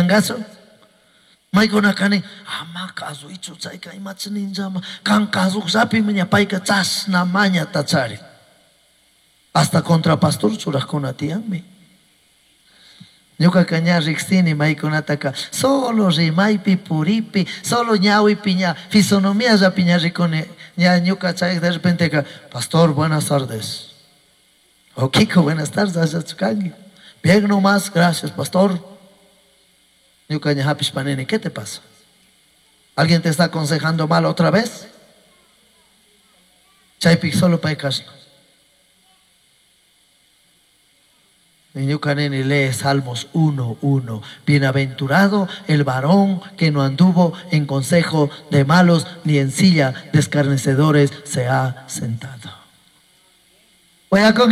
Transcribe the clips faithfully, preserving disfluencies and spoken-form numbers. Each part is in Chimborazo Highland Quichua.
Tiyangachu? Maykunaka nin, ama kasuichu chayka imachi ninllama, kan kasuqllapimi ña payka chashna mañata charin. Hasta contra pastor churajkuna tiyanmi. Ñuqaqa ña riqsini maykunataka solo rimaypi puripi, solo ñawipi ña fisonomiallapi ña rikuni, ña ñuka chay de repenteqa, pastor, buenas tardes. O Kiko, buenas tardes, allachu kanki. Bien nomás, gracias, pastor. Ñuka ña hapishpa nini, ¿qué te pasa? ¿Alguien te está aconsejando mal otra vez? Chaypi solo pay kashna. Ñuka nini lee Salmos uno, uno. Bienaventurado el varón que no anduvo en consejo de malos, ni en silla de escarnecedores se ha sentado. ¿Voy a con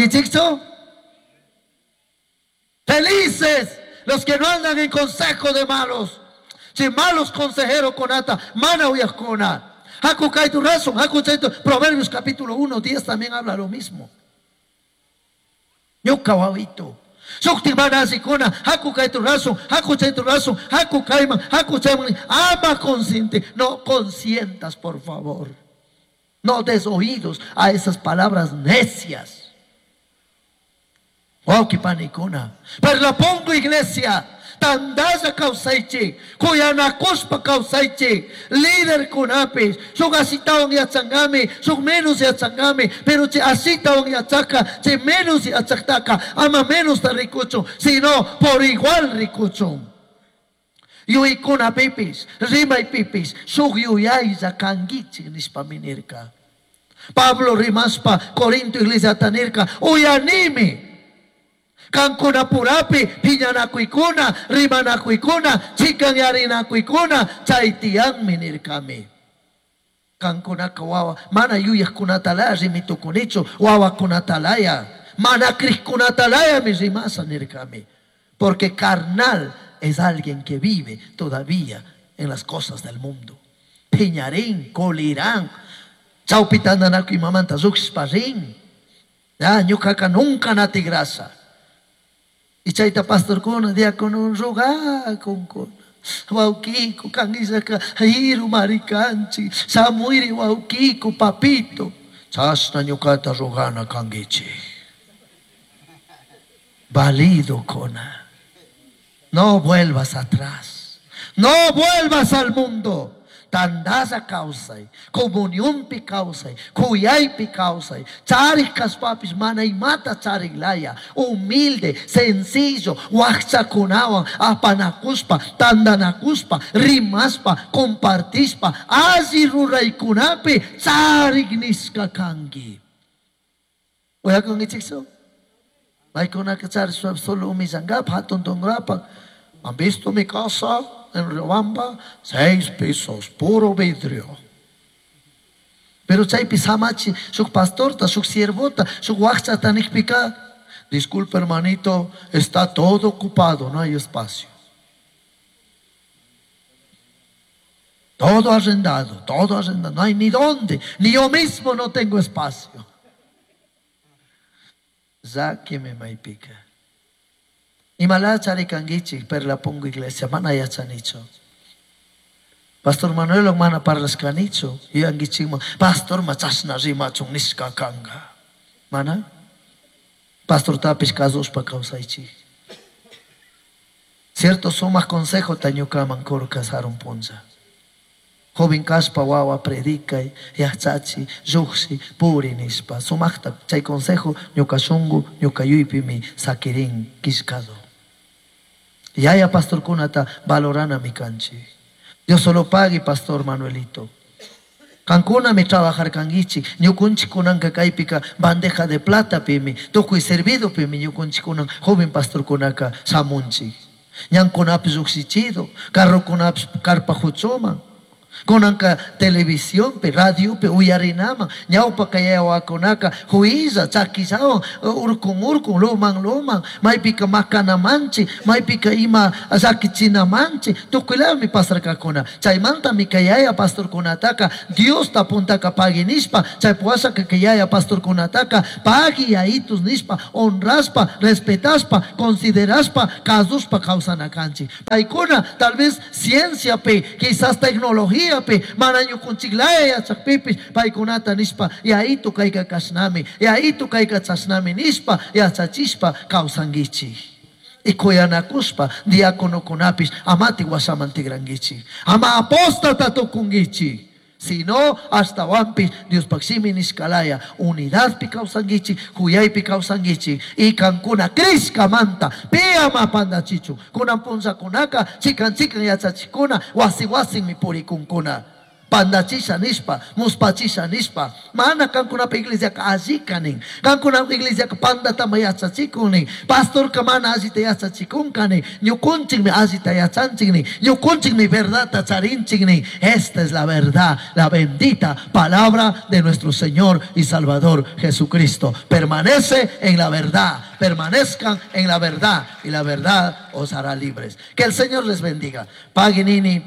Felices los que no andan en consejo de malos. Si malos consejeros conata, mana uyajkuna. Haku kaitu razón, haku chaitu. Proverbios capítulo uno, diez también habla lo mismo. Ñuka wawito. Shukti mana asikuna, haku kaitu razón, haku chaitu razón, haku kaiman, haku chaiman. Ama consciente, no consientas, por favor. No des oídos a esas palabras necias. Wauki panikuna. Pero la pongo iglesia. Tandalla kawsaychik, kuyanakushpa kawsaychik, líder kunapis, shuk asitawan yachangami, shuk menos yachangami, pero chay asitawan yachaka, chay menos yachaktaka, ama menos ta rikuchun, sino por igual rikuchun. Yuykunapipis, rimaypipis, shuk yuyaylla kankichik nishpa nirka. Pablo rimaspa, Corinto iglesia nirka, uyanimi. Kankuna purapi, piñanakuykuna, rimanakuykuna, chikanyarinakuykkuna, chay tiyanmi nirkami. Kankunaka wawa, mana yuyajkunatalaya rimitukunichu, wawakunatalaya, mana crijkunatalaya mi rimasa nirkami. Porque carnal es alguien que vive todavía en las cosas del mundo. Piñarín, colirán, chawpitandanakuy mamanta lluqshishpa rin. Ya, ñukaka nunca natigrasa. Y chayta pastorkuna, diácono, rogakunkuna. Wawqiku, kanillaka, hiru marikanchik, shamuiri wawqiku, papito. Chashna ñukata rogana kankichik. Valido kona. No vuelvas atrás. No vuelvas al mundo. Tandalla kawsay, comunionpi kawsay, kuyaypi kawsay, charik kashpapis mana imata chariklaya, humilde, sencillo, wakchakunawan apanakuspa, tandanakuspa, rimaspa, compartispa, alli ruraykunapi charik nishka kanki. Uyakunkichikchu? Paykunaka charishpa solo humillankapa, hatun tunkrapa. ¿Han visto mi casa en Riobamba? Seis pisos, puro vidrio. Pero chaypi samachi, shuk pastorta, shuk siervota, shuk wakchata nikpika. Disculpe, hermanito, está todo ocupado, no hay espacio. Todo arrendado, todo arrendado, no hay ni dónde, ni yo mismo no tengo espacio. Zákeme maypika. Imala charikankichik, pero la pongo iglesia, mana yachanichu. Pastor Manuel mana parlashkanichu, yuyankichikman, pastor ma chashna rimachun nishka kanka. Mana? Pastor tapish kasushpa kawsaychik. Cierto sumaq consejo ta ñukaman kurka sarun punlla. Joven kashpa wawa predicay, yachachi, lluqshi, puri nishpa. Sumaqta chay consejo ñuka shunku, ñuka yuypimi sakirin killkado. Yaya pastorkunata valoranami kanchik. Dios solo pague, pastor Manuelito. Kankunami trabajar kankichik, ñukunchik kunanka kaypika bandeja de plata pimi, tukuy servido pimi ñukunchik kunan joven pastorkunaka shamunchik. Ñankunapish llukshichido, carrokunapish carpa huchuman. Kunanka televisionpi, radiopi uyarinaman, ñawpaka yawakunaka huilla chakillawan urkun urkun luman luman, maypika makanamanchi, maypika ima llakichinamanchi, tukuylami pasarkakuna. Chaymantami kay yaya pastorkunataka Diosta puntaka pagui nishpa, chay puwashaka kay yaya pastorkunataka pagui yayitus nishpa, honraspa, respetaspa, consideraspa, kasushpa kawsanakanchik. Paykuna tal vez cienciapi, quizás tecnología mana ñukunchiklaya yachakpipis paykunata nishpa yayitu kayka kashnami, yayitu kayka chashnami nishpa yachachishpa kawsankichik. Y kuyanakushpa diáconokunapis amati washaman tigrankichik, ama apóstata tukunkichik, sino ashtawanpis Diospaq shimi nishkalaya unidadpi kawsankichik, huyaypi kawsankichik y kankuna crishkamanta pi ama pandachichun. Kunan punllakunaka chikan chikan yachachikuna wasi wasinmi purikunkuna. Pandachisha nishpa, muspachisha nishpa, mana kankunapa iglesiaka allika nin, kankunapa iglesiaka pandatama yachachikun nin, pastorka mana allita yachachikunka nin, ñukunchikmi allita yachanchik nin, ñukunchikmi verdadta charinchik nin. Esta es la verdad, la bendita palabra de nuestro Señor y Salvador Jesucristo. Permanece en la verdad, permanezcan en la verdad y la verdad os hará libres. Que el Señor les bendiga. Pagui nini,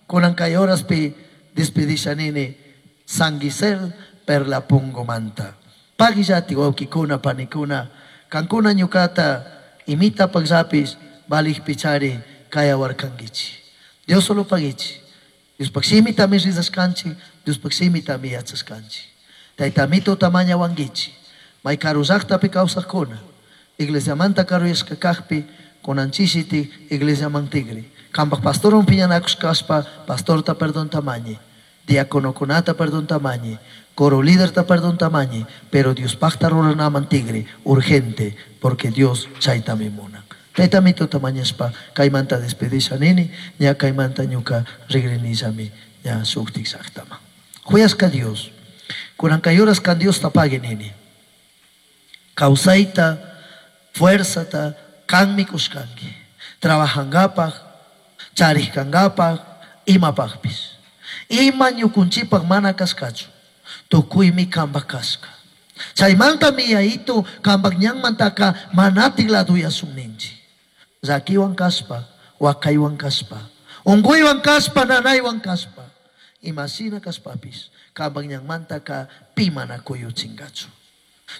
kunan kay horaspi despedisha nini Sanguisel per la pungomanta. Pagillati wawkikuna panikuna, kankuna ñukata imita pagllapis valij pichari kayawarkankichi. Dios solo pagichi. Diospaq shimitami rizashkanchik, Diospaq shimitami yachashkanchik. Taytamito tamaña wankichi. May karu llaqtapi kawsaqkuna, iglesiamanta karuyashka kaqpi kunanchishiti iglesiaman tigri. Kampaq pastorwan piñanakushkashpa pastorta perdón tamañi, diáconokunata perdón tamañi, coro líderta perdón tamañi, pero Diospaqta ruranaman tigri, urgente, porque Dios chaytami munan. Taytamito tamañashpa kaymanta despedisha nini, ña kaymanta ñuka rigrinillami ña shuktik llaqtaman. Huyashka Dios, kunan kay horas kan Dios tapague nini. Kawsayta, fuerzata, kanmi kushkanki. Trabajankapaq, charishkankapaq, imapaqpis. Ima ñukunchikpaq mana kashkachu, tukuymi kanpaq kashka. Chaymantami yayitu kanpaq ñanmantaka manatik laduyasun ninchik. Llakiwan kashpa, wakaywan kashpa, unkuywan kashpa, nanaywan kashpa, imashina kashpapis kanpaq ñanmantaka pi mana kuyuchinkachu.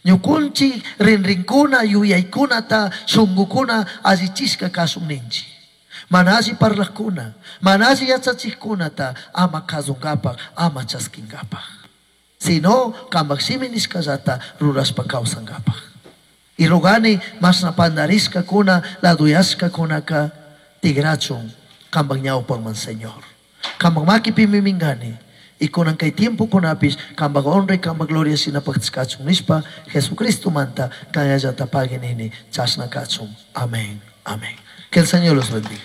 Ñukunchik rinrinkuna, yuyaykunata, shunqukuna allichishka kashun ninchik. Mana alli parlaqkuna, mana alli yachachikkunata ama kasunkapaq, ama chaskinkapaq. Sino kanpaq shimi nishkallata rurashpa kawsankapaq. Y rogani mashna pandarishkakuna, laduyashkakunaka tigrachun kanpaq ñawpaqman, Señor. Kanpaq makipimi minkani. Y kunan kay tiempokunapis kanpaq honra y kanpaq gloria shinapaqtishkachun nishpa Jesucristo manta kayallata pagui nini chashna kachun. Amén. Amén. Que el Señor los bendiga.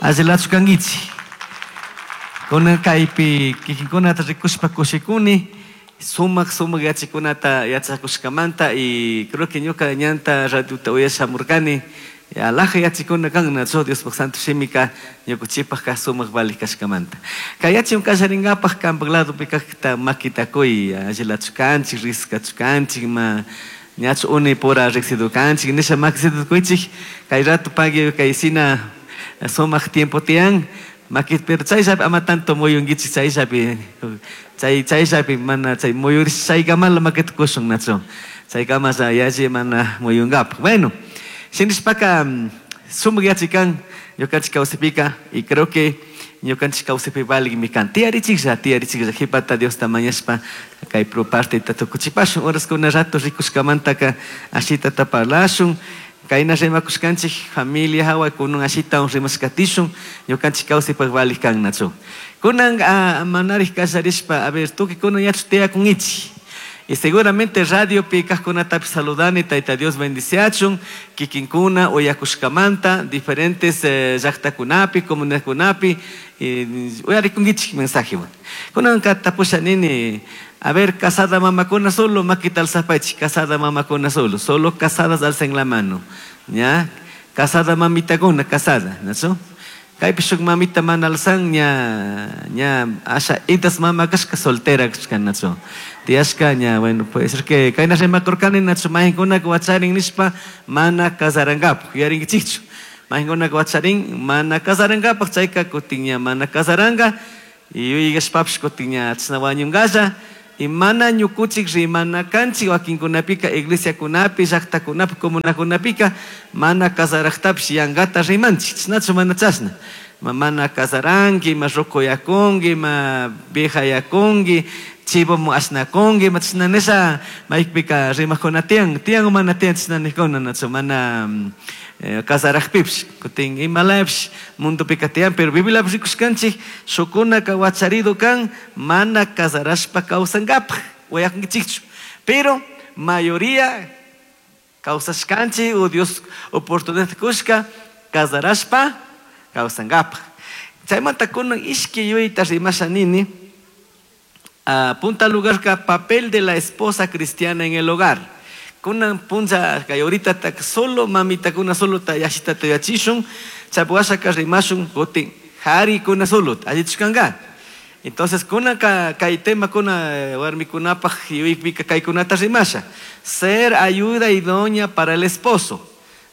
Allilachu kankichik. Kunan kaypi kikinkunata rikushpa kushikuni, sumaq sumaq yachakunata yachakushkamanta y creo que ñuka ñanta radiota uyashamurkani. Alaja yachikuna kan nacho Diospaq santo shimika ñukuchipaq ka sumaq valij kashkamanta. Kay yachim kallarinkapak kanpak ladopi kaqta makitakuy, allilachu kanchik, riskachu kanchik, ma ñachu uni pura riqsidu kanchik, nisha makisidu kuychik, kay rato pagui kay sina sumaq tiempo tiyan, makit pero chayllapi ama tanto muyunkichik chayllapi, chay chayllapi mana chay muyurish chaykamala makita kushun nacho, chaykamalla yalli mana muyunkapak. Bueno, shinishpaka sumaq yachikan ñukanchik kawsaypika y creo que ñukanchik kawsaypi valigmi kan. Tiyarichiklla, tiyarichiklla qhipata Diosta mañashpa kay pro partita tukuchipashun. Horaskuna rato rikushkamantaka ashitata parlashun. Kayna rimakushkanchik familia hawa kunan ashitawan rimashkatishun ñukanchik kawsaypaq valij kan nachu. Kunan manarij kallarishpa, a ver, tukuy kunan yachu tiyakunkichik. Y seguramente radio pi kaqkunatapis saludani, Tayta Dios bendiciachun, kikinkuna uyakushkamanta, diferentes eh, llaqtakunapi, comunidadkunapi, uyarikunkichik mensajewan. Kunanka tapusha nini, a ver, casada mamakuna solo, makita alzapaychik, casada mamakuna solo, solo casadas alcen la mano, ¿ya? Casada mamitakuna, casada, nachu? Kaypi shuk mamita mana alzan ña ña asha itas mama kashka soltera kashka nachu. Tiyashka ña, bueno, puede ser que kayna rimakurkani nachu mahinkunaka wacharin nishpa mana kasarankapak, yuyarinkichikchu. Mahinkunaka wacharin mana kasarankapak, chayka kutin ña mana kasaranka, yuyashpapish kutin ña chashna wañunkalla. Y mana ñukuchik rimana kanchik wakinkunapika iglesiakunapi, llaqtakunapi, comunakunapika mana kasaraktapish yankata rimanchik, chashnachu mana chashna. Ma mana kasaranki, ma rukuyakunki, ma viejayakunki, chivomu ashnakunki, ma chashna nisha maypika rimakuna tiyan, tiyan o mana tiyan chashna nijkuna, nachu mana eh, kasarakpipish, kutin imalapish mundupika tiyan, pero Bibliapish rikushkanchik shukunaka wacharido kan mana kasarashpa kawsankapak, uyakunkichikchu. Pero mayoría kawsashkanchik o Dios oportunidad kushka kasarashpa kawsankapak. Chaymanta kunan ishki yuyayta rimasha nini. Uh, punta lugar ka papel de la esposa cristiana en el hogar. Kunan puncha kay ahorita tak solo mamita kuna solo ta yashita ta yachishun, chapuasha ka rimashun kutin hari kuna solo allichkanga. Entonces kuna ka kay tema kuna warmikunapaj yuypika kay kunata rimasha. Ser ayuda idónea para el esposo.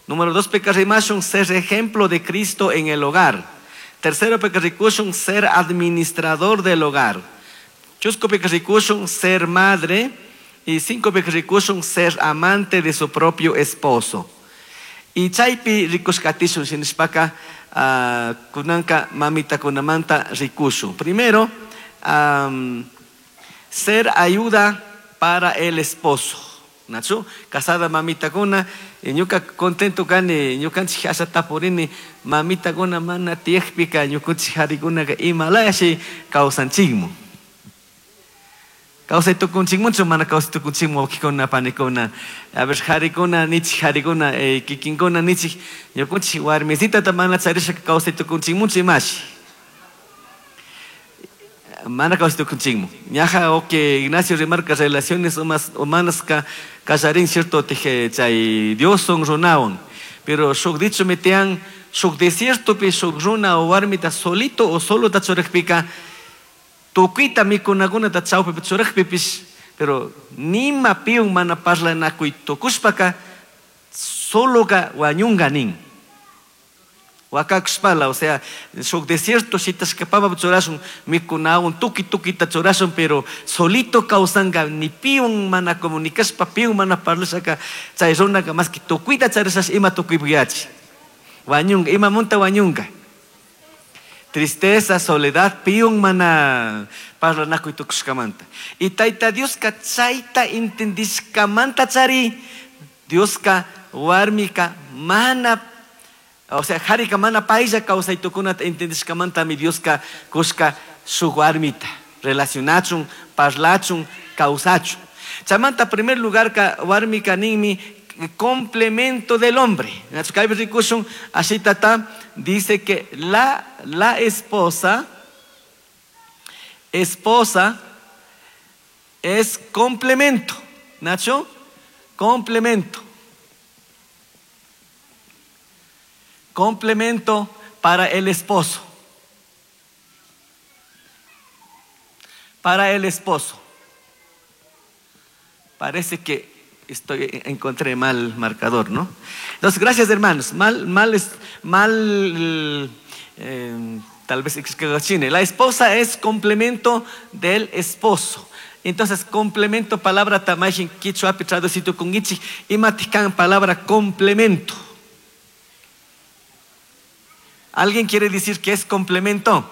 Número dos, peka rimashun, ser ejemplo de Cristo en el hogar. Tercero, peka rikushun, ser administrador del hogar. Chusco peka rikushun, ser madre. Y cinco peka rikushun, ser amante de su propio esposo. Y chaypi rikushkatishun shinishpaka uh, kunanka mamita kunamanta rikushun. Primero, um, ser ayuda para el esposo. Nachu, casada mamita kuna, ñuka contento kani, ñukanchik asha tapurini, mamita kuna mana tiyakpika, ñukunchik harikunaka imalayashi kawsanchikmu. Kawsay tukunchikmunchu, mana kawsay tukunchikmu, wawqikuna, panikuna. A ver, harikuna, nichik harikuna, eh, kikinkuna, nichik, ñukunchik warmisitata mana charishaka kawsay tukunchikmunchu imashi. Mana kawsay tukunchikmu. Ñaja, oke, Ignacio remarca relaciones humanas ka kallarin, cierto, teje, chay Dios son runawan. Pero shuk dicho metean, shuk desierto pi shuk runa o warmita solito o solo ta churakpika, tukuyta mikunakunata chawpipi churakpipish, pero nima piun mana parlanakuy tukushpaka, soloka wañunga nin. Wakakushpala, o sea, shuk desierto shitashkapapa churashun, mikunawan tuki tukita churashun, pero solito kawsanka, ni piun mana comunicashpa, piun mana parlashaka, chay runaka más que tukuyta charishash ima tukuypiyachi. Wañunga, ima munta wañunga. Tristeza, soledad, piun mana parlanakuy tukushkamanta. Y tayta Dioska chayta entendishkamanta chari, Dioska warmika mana, o sea, harika mana paylla kawsay tukunata entendishkamanta mi Dioska kushka shuk warmita relacionachun, parlachun, kawsachun. Chamanta primer lugar ka warmika ninmi complemento del hombre. Así tata dice que la, la esposa, esposa es complemento. Nacho, complemento. Complemento para el esposo. Para el esposo. Parece que estoy, encontré mal marcador, ¿no? Entonces, gracias, hermanos. Mal, mal, mal, eh, tal vez la esposa es complemento del esposo. Entonces, complemento, palabra tamajin quichua traducido con ichi, imatican palabra complemento. ¿Alguien quiere decir qué es complemento?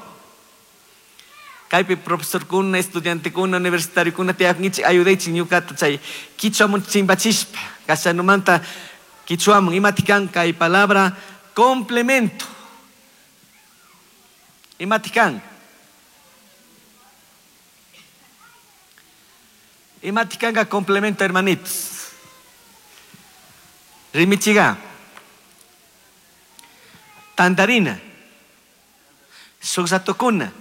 Kaypi profesor kuna, estudiante kuna, universitario kuna, tiyaknichik ayudaychik ñukata chay kichwamun chimpachishpa, kashanumanta kichwamun imatikan kay palabra complemento. Imatikan. Imatikanka complemento, hermanitos. Rimichiga. Tandarina. Shuksatukuna.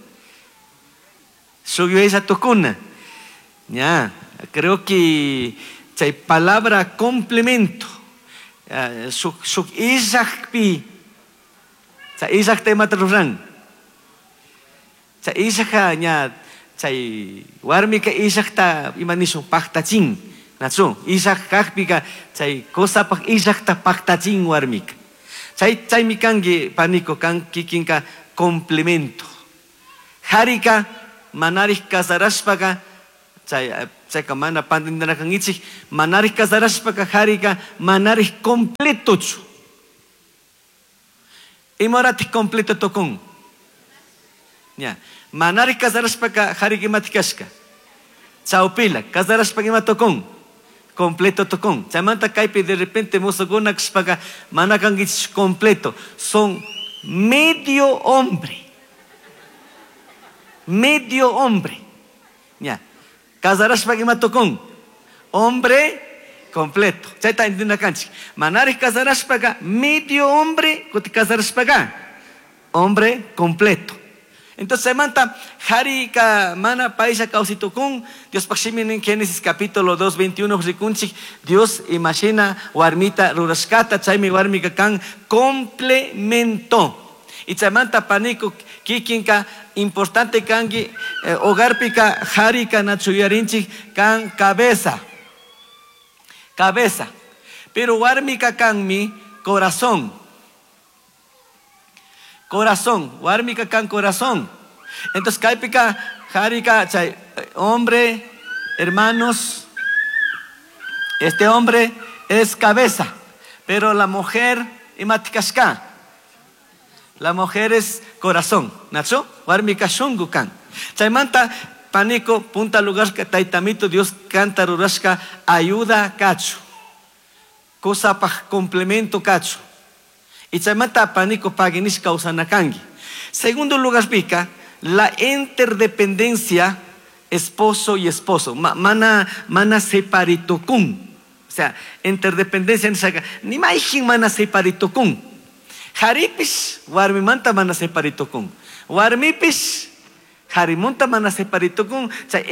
Tukuna. Ya, creo que chay palabra complemento. uh, shuk shuk illakpi chay illakta imata ruran chay illaka ña chay warmika illakta ima nishun paktachin nachu illak kakpika chay kusapak illakta paktachin warmika chay chaymi kanki paniko kan kikinka complemento harika manarik kasarashpaka chay chayka mana pantinarakankichik manarik kasarashpaka harika manarik completochu imahoratik completo tukun ña manarik kasarashpaka harika imatik kashka chawpila kasarashpaka ima tukun completo tukun chaymanta kaypi de repente mosokuna kashpaka mana kankichik completo son medio hombre medio hombre ña kasarashpaka ima tukun hombre completo chayta entiendakanchik manarik kasarashpaka medio hombre kuti kasarashpaka hombre completo. Entonces chaymanta harika mana paisha kawsitukun Diospak shimi nin Génesis capítulo dos veintiuno rikunchik Dios imagina warmita rurashkata chaymi warmika kan complemento. Y chaymanta paniko kikinka importante kanki eh, hogarpika harika nachuyarinchik kan cabeza cabeza pero warmika kanmi corazón corazón warmika kan corazón. Entonces kaypika harika chay hombre hermanos este hombre es cabeza pero la mujer imatikashka la mujer es corazón nachu warmika shungu kan chaymanta paniko punta lugar que taitamito Dios canta rurashka ayuda kachu cosa pa complemento kachu y chaymanta paniko paginish kawsanakanki. Segundo lugar pica la interdependencia esposo y esposo Ma, mana mana separitokun o sea interdependencia ni maijin mana separitokun haripis warmimanta mana separitokun warmipis harimunta mana separitokun chay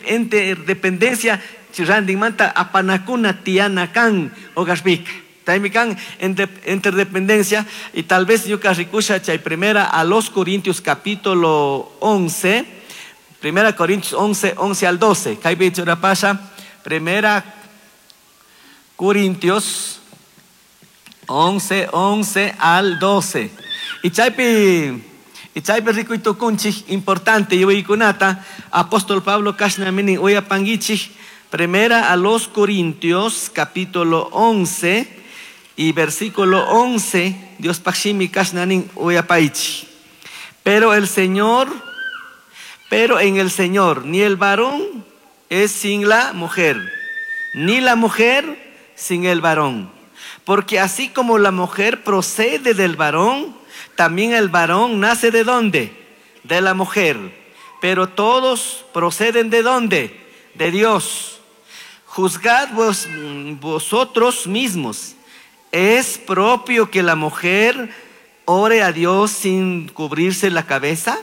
interdependencia randinmanta apanakuna tiana kan hogarpika chaymi kan interdependencia. Y tal vez ñuka rikusha chay primera a los Corintios capítulo once primera Corintios once once al doce kaypi churapasha primera Corintios once once al doce y chaypi y chaypi rikuytukunchik importante yuyaykunata apóstol Pablo kashna minin uyapankichik primera a los Corintios capítulo once y versículo once Dios pashimi kashna nin uyapaychik pero el Señor pero en el Señor ni el varón es sin la mujer ni la mujer sin el varón porque así como la mujer procede del varón también el varón nace de dónde de la mujer pero todos proceden de dónde de Dios. Juzgad vos, vosotros mismos. ¿Es propio que la mujer ore a Dios sin cubrirse la cabeza?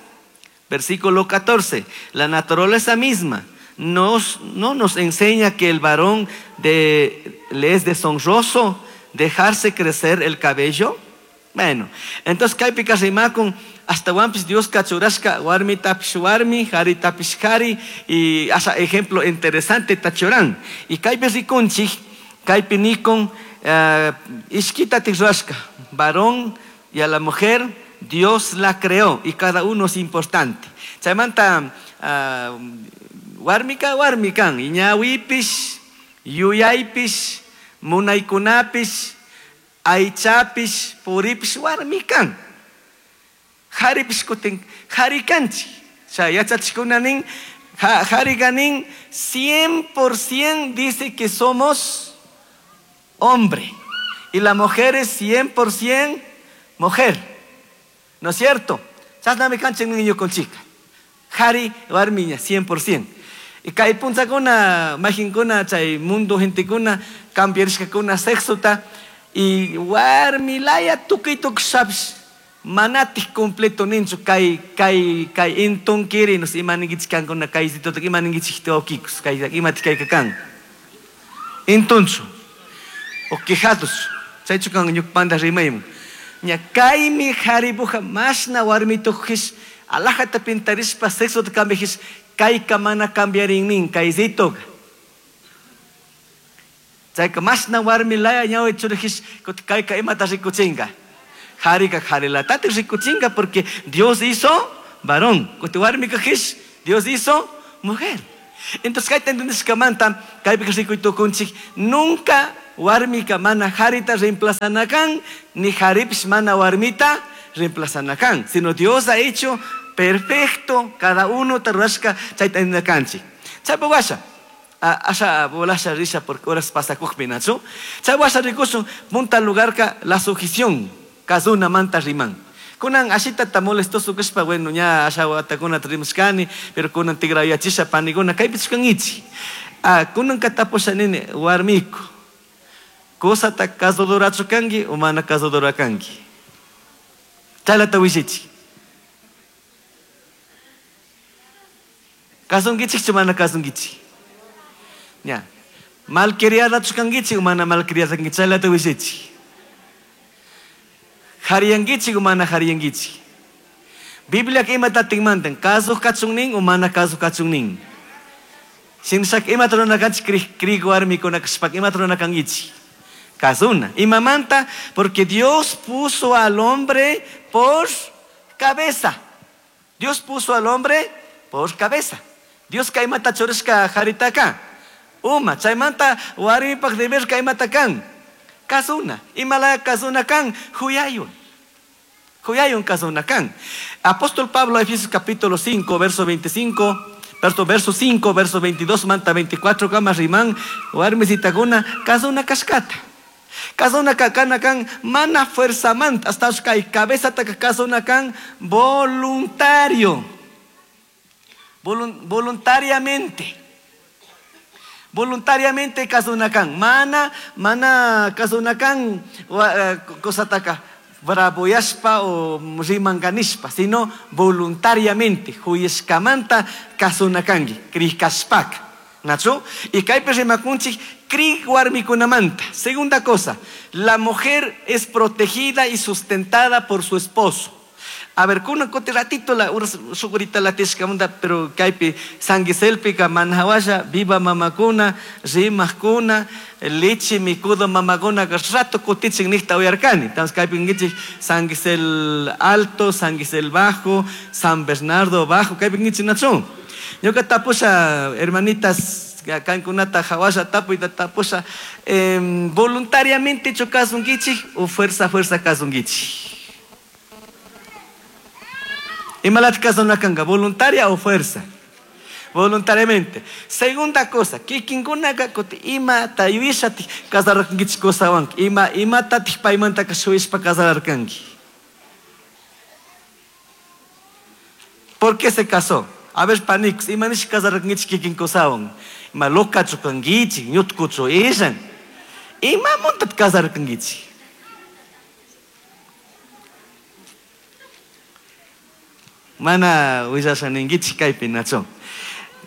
Versículo catorce. La naturaleza misma nos, no nos enseña que el varón de, le es deshonroso dejarse crecer el cabello. Bueno, entonces kaypika rimakun hasta wampis Dios kachurashka warmi tapish warmi, hari tapish hari y hasta ejemplo interesante tachuran. Y kaypi rikunchik, kaypi nikun uh, ishkita tikrashka, varón y a la mujer Dios la creó y cada uno es importante. Chaymanta uh, warmika warmikan, ñawipish, yuyaypish, munaykunapish, aychapish, puripish warmikan. Haripish kutin harikanchik. Chay yachachikuna nin, harika nin, cien por ciento dice que somos hombre. Y la mujer es cien por ciento mujer. ¿No es cierto? Chasnami kanchik niño con chica. Hari warmiña, cien por ciento. Y kay punchakuna, majinkuna, chay mundo gentekuna, cambiarishkakuna sexota y warmilaya tukuy tukushapis manatik completo ninchu kay kay kay intunkiri nos imaninkichik kankuna kaysitotak imaninkichik tawkikus kay imatik kayka kan intunchu o quejados Chaychu kan ñuqpanta rimayman. Ña kaymi haribuja mashna warmituqhis alajata pintarishpa sexota cambiajis kayka mana cambiarinnin kaysitoqa. Chayka mashna warmi laya ñawi churajis kayka imata rikuchinka. Harika harilatati rikuchinka porque Dios hizo varón. Kuti warmika his Dios hizo mujer. Entonces kayta entendishkamanta kaypi rikuytukunchik nunca warmika mana harita reemplazanakan ni haripis mana warmita reemplazanakan, sino Dios ha hecho perfecto cada uno tarrashka chayta entendikanchik. Chaypa washa asha bolasha risha porque horas pasakujpi nachu. Chay washa rikusun punta lugarka la sujeción kazuna manta riman. Kunan ashita ta molestoso kashpa bueno ña asha watakuna rimushkani pero kunan tigrayachisha paniguna kaypi chukangichi. Ah kunan katapusha nini warmiku kusata kasudurachu kanki o mana kasudura kanki. Chaylata wishichi. Kasunkichikchu mana kasunkichik. Ña. Malcriadachu kankichik o mana malcriada kankichik. Chaylata wishichi. Hariyankichik o mana hariyankichik. Biblia imata tinmantan kasuq kachunnin o mana kasuq kachunnin. Shinshak imata runakanchik kri kri warmikuna kashpaka imata runakankichik. Kasuna. Imamanta porque Dios puso al hombre por cabeza. Dios puso al hombre por cabeza. Dios kaymata churashka haritaka. Uma, chaymanta warmipaq deber kaymata kan. Kasuna. Imala kasuna kan huyayun. Huyayun kasuna kan. Apóstol Pablo, Efesios capítulo cinco, verso veinticinco, verso, verso cinco, verso veintidós, manta veinticuatro, kama riman, warmisitakuna, kasuna kashkata. Kasuna kakana kan mana fuerza manta, hasta kay cabeza taka kasuna kan voluntario. Volun, voluntariamente. Voluntariamente kasunakan. Mana, mana kasunakan kosataka braboyashpa o rimanganishpa, sino voluntariamente. Huyeshkamanta kasunakangi, krikashpaka. ¿Nacho? Y kaypi rimakunchik kri warmikunamanta. Segunda cosa, la mujer es protegida y sustentada por su esposo. A ver, kunan kuti ratito la sugurita la tishkamunda, pero kaypi sanguiselpika manhawasha, viva mamakuna, rimajkuna, leche mikudo mamakuna, rato kutichin nihta uyarkani. Entonces kaypi ngichik sanguisel alto, sanguisel bajo, San Bernardo bajo, kaypi ngichik nachun. Ñuka tapusha, hermanitas, kankunata hawasha tapuyta tapusha, eh, voluntariamente chukasunkichik o fuerza, fuerza kasunkichik. Imalat kasonakanga, voluntaria o fuerza. Voluntariamente. Segunda cosa, kikinkunaka kuti ima tayuishati kasararkankichik kusawanki. Ima imatatik paymantaka shuyishpa kasararkanki. ¿Por qué se casó? A ver, panix, ima nish kasararkankichik kikin kusawan. Ima lokachu kankichik, ñutkuchu ishan. Ima muntat kasararkankichik. Mana willasha ninkichik kaypi nacho.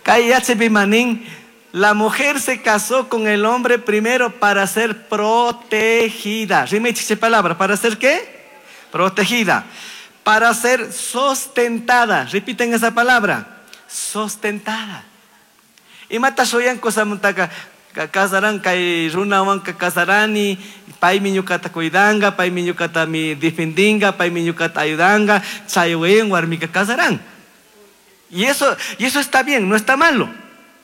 Kay yachapi manin, la mujer se casó con el hombre primero para ser protegida. Rimaychik palabra, ¿para ser qué? Protegida. Para ser sustentada. Repiten esa palabra. Sustentada. Imata shoyan kosamuntaka kasaran kay runawanka kasarani, paymi ñuqata cuidanga, paymi ñuqata mi defendinga, paymi ñuqata ayudanga, chaywen warmika kasarán. Y eso, y eso está bien, no está malo.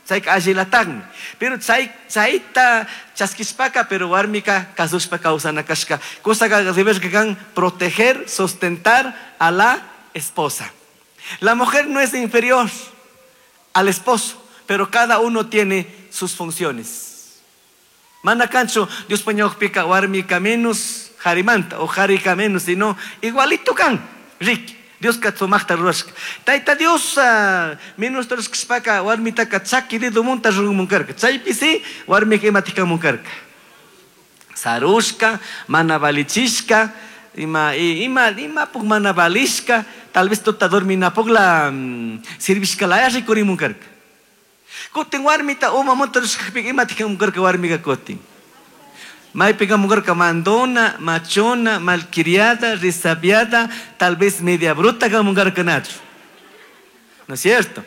Chayka allilataqmi. Pero chay chayta chaskishpaka, pero warmika kasushpa kawsana kashka. Cosa que debes que kan proteger, sustentar a la esposa. La mujer no es inferior al esposo, pero cada uno tiene sus funciones. Mana kanchu Dios pañawpika warmika menos harimanta o harika menos, sino igualito kan. Rick, Dios katsumaqta rurashka. Tayta Dios uh, menos rurashkashpaka warmitaka chaki dedomunta rurumunkarka. Chaypi si warmika imatikamunkarka. Sarushka, mana valichishka, ima ima ima puk mana valishka, tal vez tota dorminapukla um, sirvishka laya rikurimunkarka. Kutin warmita uma munta rurashkapika imatikamunkarka warmika kutin. Maypiqa mugarka mandona, machona, malcriada, resabiada, tal vez media bruta kamungarka nachu. ¿No es cierto?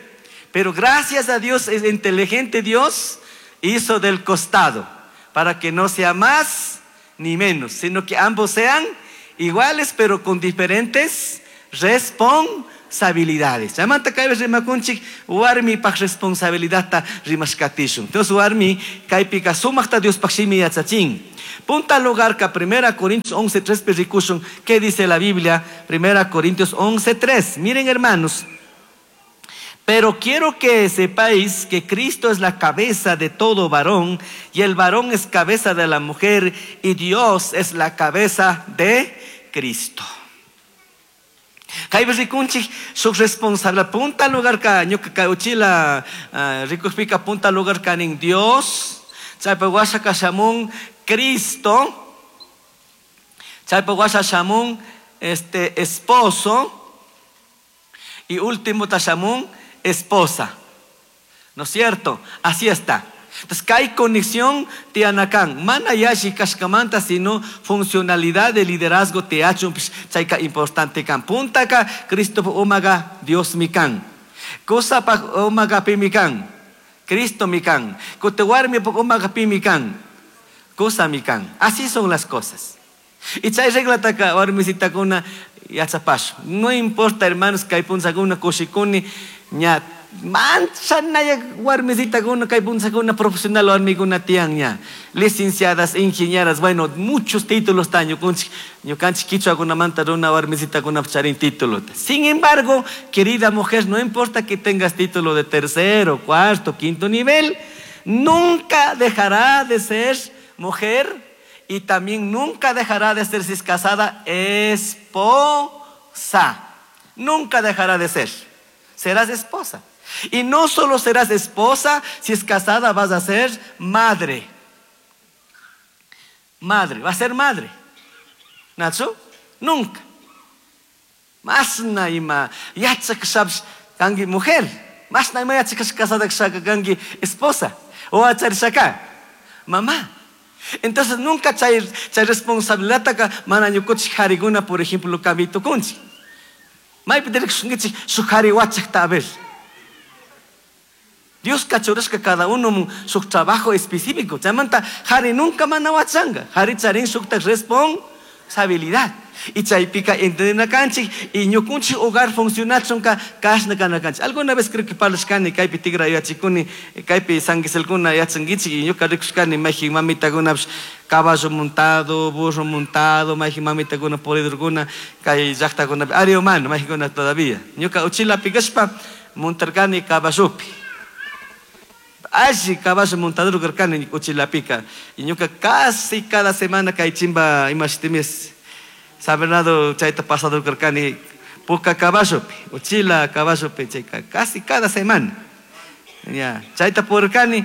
Pero gracias a Dios, es inteligente Dios, hizo del costado, para que no sea más ni menos, sino que ambos sean iguales, pero con diferentes responsabilidades. Chaymanta kaypi rimakunchik warmipaj responsabilidadta rimashkatishun. Entonces warmi kaypika sumaqta Diospaj shimi yachachin. Punta lugar ka Primera Corintios once tres rikushun. ¿Qué dice la Biblia? Primera Corintios once tres. Miren, hermanos. Pero quiero que sepáis que Cristo es la cabeza de todo varón, y el varón es cabeza de la mujer, y Dios es la cabeza de Cristo. Kaypi rikunchik shuk responsabilidad punta lugar ka ñuka kay uchila rikukpika punta lugar kanin Dios, chaypa washa kashamun Cristo, chaypa washa shamun este esposo, y último tashamun esposa. ¿No es cierto? Así está. Entonces, hay conexión tianakan. Mana yashi kashkamanta, sino funcionalidad de liderazgo te hacho chayka importante kan. Puntaka Cristo umaga Dios mi kan. Cosa pa umaga pi mi kan. Cristo mi kan. Kotewarmi pa umaga pi mi kan. Cosa mi kan. Así son las cosas. Y chay regla taka warmisitakuna yachapashu. No importa, hermanos, kay punzakuna kushikuni ña manchanaya warmisitakuna kay punzakuna profesional warmikuna tiyan ña. Licenciadas, ingenieras, bueno, muchos títulos tan ñukanchik, ñukanchik kichwakunamanta runa warmisitakuna charin título. Sin embargo, querida mujer, no importa que tengas título de tercero, cuarto, quinto nivel, nunca dejará de ser mujer. Y también nunca dejará de ser, si es casada, esposa. Nunca dejará de ser. Serás esposa. Y no solo serás esposa, si es casada vas a ser madre. Madre, va a ser madre. ¿Nacho? Nunca. Más naima, yachak sabes, kangi mujer. Más naima yachak casada kangi esposa. O achar mamá. Entonces nunca chay, chay responsabilidad ka mana ñukuchik hariguna, por ejemplo, kamito kunchi. Maypi dirikshunkichik shuk hari wachakta a ver. Dios kachurashka cada uno su trabajo específico. Chaymanta hari nunca mana wachanga. Hari charin shukta responsabilidad. Y chaypika entendinakanchik y ñukunchik hogar funcionachunka kashna kanakanchik. Alguna vez creo que parlashkani kaypi tigra yachikuni kaypi sanguiselkuna yachankichik y ñuka rikushkani mayjin mamitakunapish caballo montado, burro montado, mayjin mamitakuna puridurkuna kay llaqtakunapi ari humano mayjinkuna todavía. Ñuka uchilapi kashpa montarkani caballopi. Alli caballo montador karkani uchilapika y ñuka casi cada semana kay chimba imashitimis San Bernardo chayta pasado karkani puka caballopi, uchila caballopi chayka casi cada semana. Ya, chayta purkani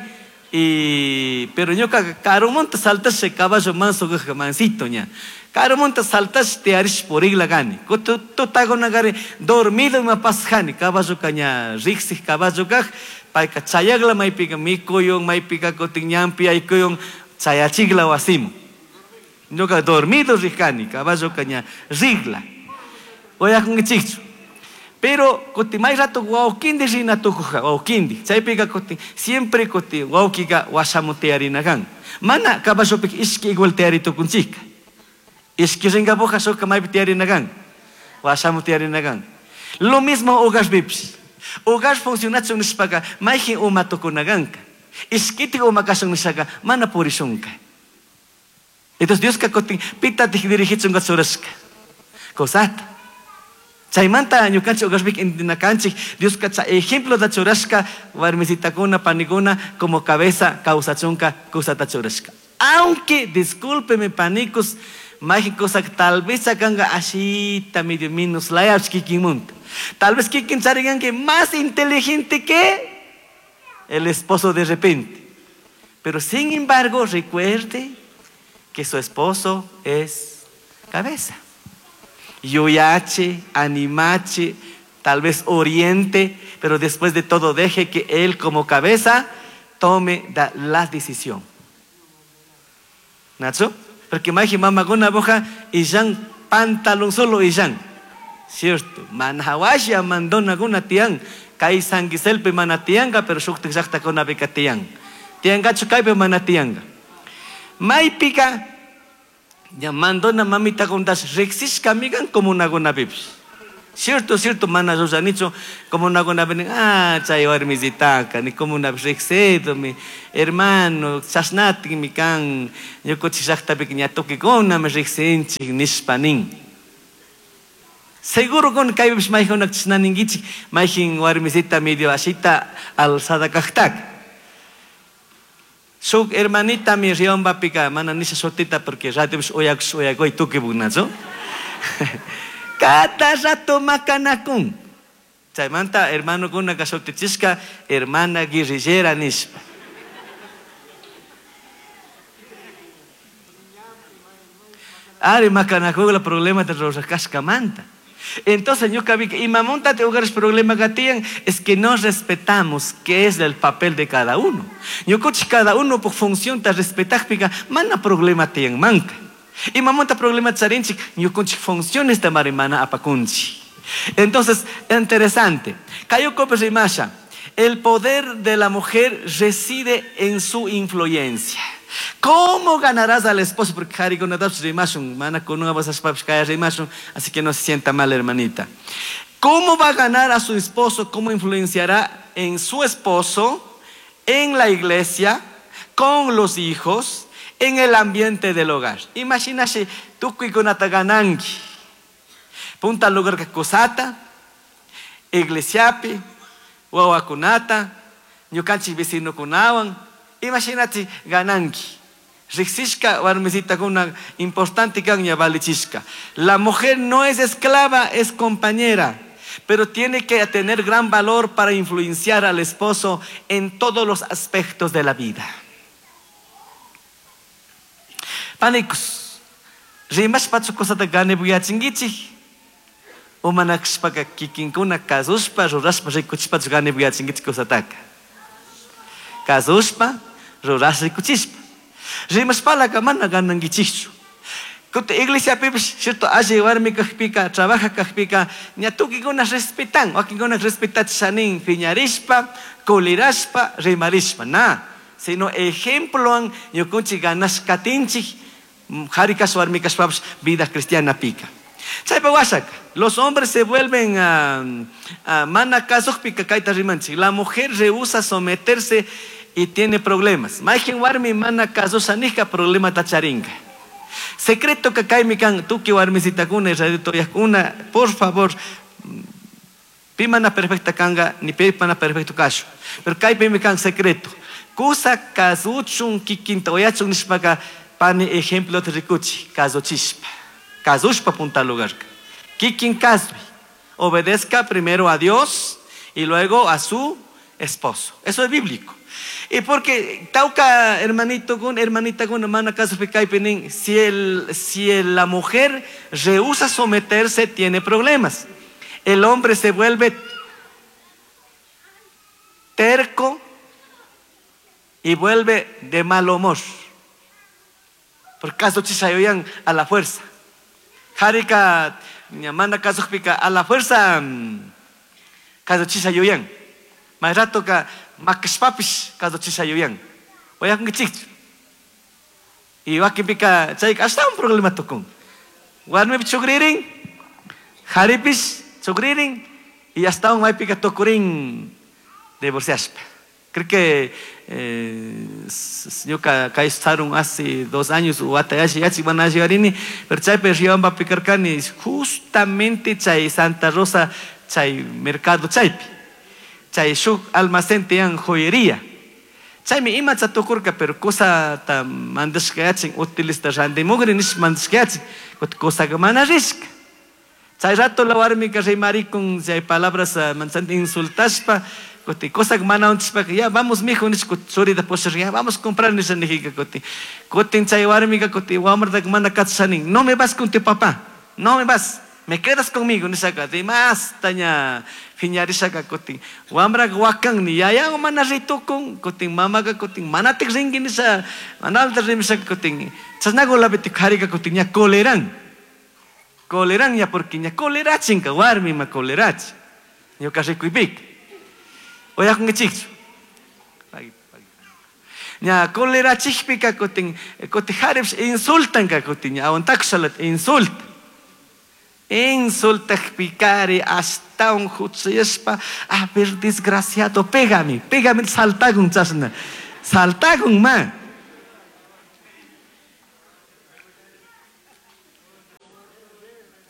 y pero ñuka karumonta saltashe caballo manso mansito ña. Karumonta saltashe te arish purigla gani. Kutu tutagunagari dormido ima pasjani caballo kaña riksij caballo kaj payka chayagla maypika mikuyun maypika kutin ñampi aykuyun chayachigla wasimu. Ñuka dormido rijani, caballo caña rigla. Oyakunkichikchu. Pero kuti may rato wawkindi rina tukuja, wawkindi. Chaypika kuti siempre kuti wawkika washamu tiyarinakan. Mana caballopik ishki igual tiyari tukunchika. Ishki ringapuja shuka maypi tiyarinakan. Washamu tiyarinakan. Lo mismo hogar bipis. Hogar funcionachun nishpaka mayjin uma tukunakanka. Ishkitik uma kashun nishaka mana purishunka. Entonces Dios ka kutin pita dirigichunka churashka. Cosata. Chaymanta ñukanchik hogarpik intinakanchik Dios ka chay ejemplo da churashka warmisitakuna panikuna como cabeza kawsachunka kusata churashka. Aunque discúlpeme panicos mayjin cosa tal vez sacanka ashita medio minus layach kikinmunta. Tal vez kikin chariganki más inteligente que el esposo de repente. Pero sin embargo recuerde que su esposo es cabeza. Yuyache, animache, tal vez oriente, pero después de todo deje que él como cabeza tome la decisión. ¿Nacho? Porque maji mamakuna boja illan pantalón solo illan. Cierto. Manhawasha mandona guna tian. Kay sanguiselpe mana tianga, pero shuktik llaqtakuna pika tian. Tiangachu kaypi mana tianga. Maypika ya mandona mamita kuntas riqsishka migan comunakunapipis. Cierto, cierto, mana ruranichu comunakunapi nin, ah, chay warmisitaka, ni comunapi riqsido, mi hermano, chashnatikmi kan, ñukunchik llaqtapika ña tukuykuna riqsinchik nishpa nin. Seguro con kaypipish maykunak chashna ninkichik, mayjin warmisita medio ashita alzada kaqtaka. Shuk hermanita mi riyombapika, mana nisha shutita porque radiopish uyakush uyakuy tukipuknachu. Cada rato makanakun. Chaymanta hermanokuna shutichishka hermana guerrillera nishpa. Ari makanakugla problema de rurashkashkamanta. Entonces, ñuka vi que imamunta te hogares problema que tienen es que no respetamos qué es el papel de cada uno. Ñukuchi cada uno por función te respetar pica, mana problema tienen manca. Imamunta problema charinchik, ñukunchi funciones de marimana apakunchi. Entonces, interesante. Cayo Copes Rimasha, el poder de la mujer reside en su influencia. ¿Cómo ganarás al esposo? Porque Harry con Rimashun, mana con una Rimashun, así que no se sienta mal, hermanita. ¿Cómo va a ganar a su esposo? ¿Cómo influenciará en su esposo, en la iglesia, con los hijos, en el ambiente del hogar? Imagínate, tukuy kunata gananki. Punta lugar que kusata, iglesiapi, wawakunata, ñukanchik vecinokunawan. Imagínate gananki. Riqsishka warmisita kuna importante kan ña valichishka. La mujer no es esclava, es compañera, pero tiene que tener gran valor para influenciar al esposo en todos los aspectos de la vida. Panicos, rimashpa cosata ganebuyachinkichik, umanakshpaka kikinkuna kasushpa rurashpa rikuchishpa ganebuyachinkichik cosataka. Kasushpa rurashpa rikuchishpa. Rimashpalaka mana ganankichikchu. Kuti iglesiapipish, cierto, alli warmi kajpika, trabaja kajpika, ña tukikuna respetan, wakinkuna respetachishanin, piñarishpa, kulirashpa, rimarishpa, na. Sino ejemploan ñukunchik ganashkatinchik, qhari kashpa warmi kashpapish vida cristiana pika. Chaypa washaka, los hombres se vuelven a, a mana kasuqpika kayta rimanchik. La mujer rehúsa someterse y tiene problemas. Mayqin warmi mana kasushanika problema tacharinka. Secreto que kaymi kan tuki warmisitakuna israelitoyakuna, por favor, pi mana perfecta kanga, ni pi mana perfecto kashu. Pero kaypimi kan secreto. Kusa kasuchun kikinta oyachun nishpaka pani ejemplo te rikuchi, kasuchispa. Kasushpa punta lugar. Kikin kasui. Obedezca primero a Dios y luego a su esposo. Eso es bíblico. Y porque tauca hermanito con hermanita con hermana caso pinin, si el, si el, la mujer rehúsa someterse tiene problemas. El hombre se vuelve terco y vuelve de mal humor. Por caso chisayoyan a la fuerza. Jarika manda caso pica a la fuerza caso chisayoyan. Más rato ka makashpapish caso chisayoyan. Oyakunkichik. Y wakinpika chay hasta un problema tukun. Warmipi chukririn, jaripish chukririn y hasta un maypika tukurin divorciashpa. Creo que eh, ñuka kay sarun hace dos años watayashi yachi wanashigarini, pero chaypi riobamba pikarkani justamente chay Santa Rosa chay mercado chaypi. Chay shuk almacén tiyan joyería. Chaymi imacha tukurka, pero cosa ta mandashkayachin utilista randimugri nish mandashkayachin, cosa que mana rishka. Chay rato la warmika rimarikun chay palabras manchante insultashpa, kuti cosa que mana untishpa, ya vamos mijo nish churita posher, ya vamos a comprar nish nijika kuti. Kutin chay warmika kuti wamrata mana katshanin, no me vas con tu papá, no me vas. Me quedas conmigo, nisaka, de más taña fiñarisaka kutin. Wamra wakan ni yaya mana ritukun, kutin mamaga kutin manatik ringi nisa, manalta rimisaka kutin. Chasnago labiti kharika kutin ña coleran. Coleran ya porque ña colerachinka, warmi ma colerachi. Ñuka rikuipik. Oyakungichikchu. Ña colerachikpika kutin, kutin harips insultanka kutin, ña aguantakusalat insulta. Insultakpikari hasta un hutsayaspa, a ver desgraciado, pégame, pégame, saltagun chasna, saltagun ma.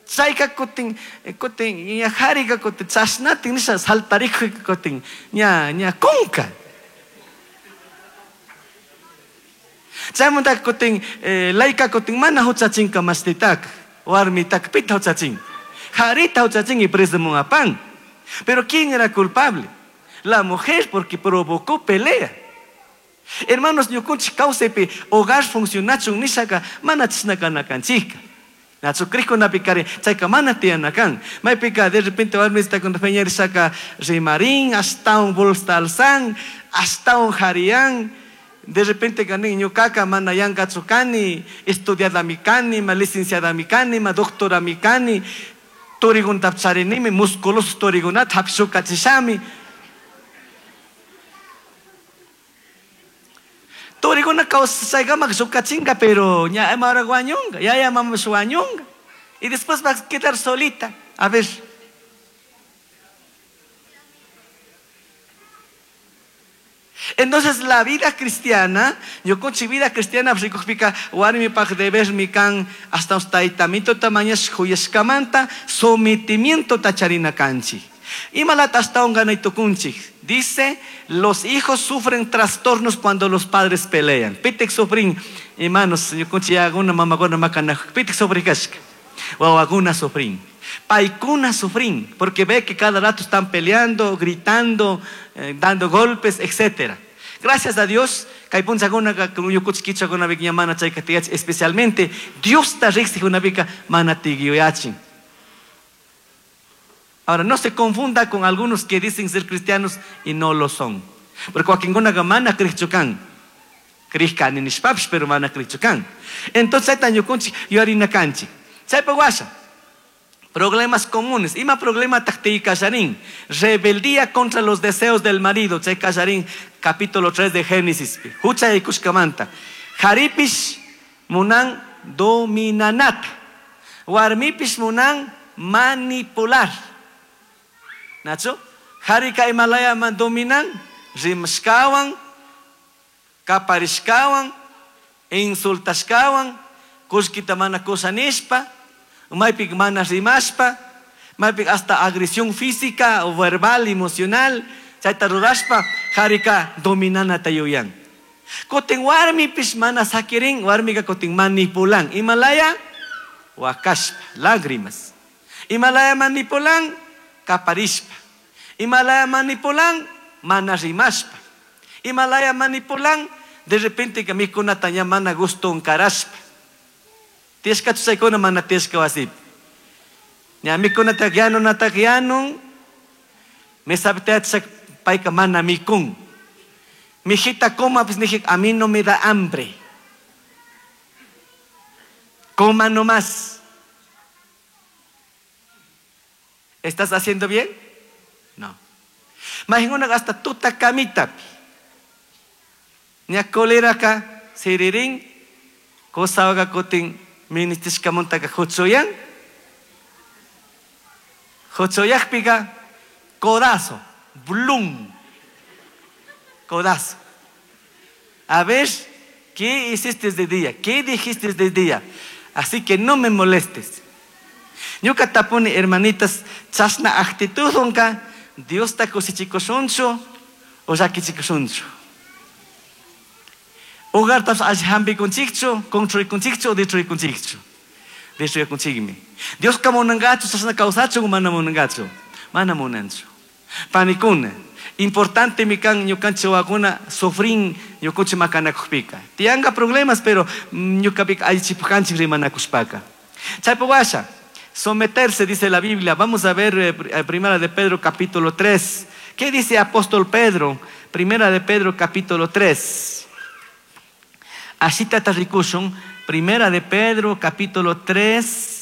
Chayka kutin, kutin, ña harika kutin, chasnatin nisha saltarikujika kutin, ña, ña kunka. Chaymanta kutin, eh, layka kutin, mana huchachinka mastitaka. Warmitaka pita huchachin. Jarita huchachin y preso apan. Pero ¿quién era culpable? La mujer, porque provocó pelea. Hermanos, ñukunchik kawsaypi hogar funcionachun nishaka mana chisnaka nakanchika. Nachu krikunapi chayka mana tiyanakan. Maypika de repente warmista con feñarisaka rimarín, hasta un bolsa alzan, hasta un jarián. De repente ganin ñucaca mana yanka tsukani, estudiada mikani, ma licenciada mikani, ma doctora mikani, torigun tapcharinimi, musculoso torigunat hapshukachishami. Toriguna kawsaykamak shukachinga, pero ña ahora guañunga, ya ya mama shuañunga. Y después va a quedar solita. A ver. Entonces la vida cristiana, yo con vida cristiana, warmi paj deber mi kan hasta taitamito tamañas huyeskamanta sometimiento tacharina kanchi. Imalat hasta un ganaytukunchi. Dice, los hijos sufren trastornos cuando los padres pelean. Pitek sufrin, hermanos, yo con una mamá con macana, pitek sufrin kashka. Wawaguna sufrin. Paikuna sufrin, porque ve que cada rato están peleando, gritando, eh, dando golpes, etcétera. Gracias a Dios, especialmente Dios está Ahora, no se confunda con algunos que dicen ser cristianos y no lo son. Porque wakinkunaqa mana kriqchukan. Kriqkani nishpapish, pero mana kriqchukan. Entonces, chayta ñukunchik yuyarina kanchik. Chaypa washa. Problemas comunes. Ima problema taqtiy kasharin. Rebeldía contra los deseos del marido. Chay kasharin, capítulo tres de Génesis. Hucha ikushkamanta. Haripish munan dominanat. Warmipish munan manipular. Nacho? Harika imalaya man dominan, rimashkawan, kaparishkawan, insultashkawan, kushkita mana kusa nishpa, maypik mana rimashpa, maypik hasta agresión física o verbal, emocional, chayta rurashpa, harika dominanata yuyan. Kutin warmipish mana sakirin, warmika kutin manipulan. Imalaya, wakashpa, lágrimas. Imalaya manipulan, kaparishpa. Imalaya manipulan, mana rimashpa. Imalaya manipulan, de repente que mikunata ña mana gusto unkarashpa. Tieska chusaykuna mana tieska wasip. Ña mikunata yanun natak yanun, mesapteatsak paika mana mikun. Mijita coma, pues dije, a mí no me da hambre. Coma nomás. ¿Estás haciendo bien? No. Imagina hasta tuta camita. Ña kolera ka siririn, cosa haga kotin ministishkamuntaka hutsuyan. Hutsuyakpika codazo, blum. Codazo. A ver, ¿qué hiciste de día? ¿Qué dijiste de día? Así que no me molestes. Ñuka tapuni hermanitas, chasna actitud onka, Dios ta kusichikushunchu o llakichikushunchu. Hogar tas alli hampikunchikchu, construikunchikchu o destruikunchikchu. Destruikunchikmi. Dios ka munangachu, chasna kawsachu o mana munangachu. Mana munanchu. Panikuna, importante mi kan ñukanchik wawakuna sufrin ñukunchik makanakuqpika. Tiyanqa problemas, pero ñukapika allichipukanchik rimanakushpaka. Chaypa washa, Someterse, dice la Biblia. Vamos a ver eh, Primera de Pedro capítulo tres. ¿Qué dice apóstol Pedro? Primera de Pedro capítulo tres. Ashita rikushun. Primera de Pedro capítulo tres.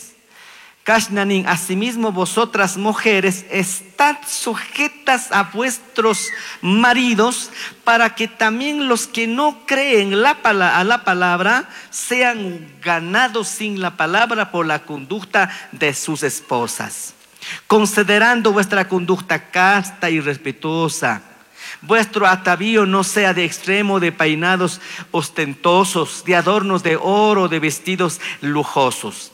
Kashnanin, asimismo vosotras mujeres estad sujetas a vuestros maridos, para que también los que no creen la pala-, a la palabra sean ganados sin la palabra por la conducta de sus esposas, considerando vuestra conducta casta y respetuosa. Vuestro atavío no sea de extremo de peinados ostentosos, de adornos de oro, de vestidos lujosos,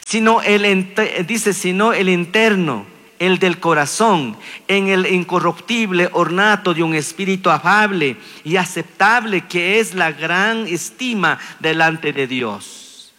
sino el ente-, dice, sino el interno, el del corazón, en el incorruptible ornato de un espíritu afable y aceptable, que es la gran estima delante de Dios.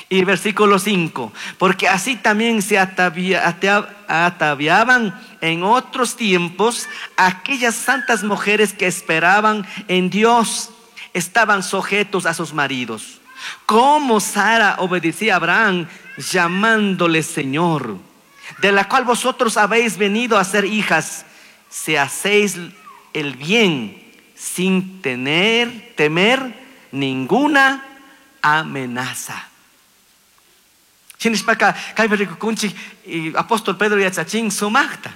Y versículo cinco, porque así también se atavia-, atea-, ataviaban en otros tiempos aquellas santas mujeres que esperaban en Dios, estaban sujetos a sus maridos. Como Sara obedecía a Abraham, llamándole Señor, de la cual vosotros habéis venido a ser hijas, si hacéis el bien sin tener, temer ninguna amenaza. Shinishpaka, kaypi rikukunchik, y apóstol Pedro yachachin sumaqta.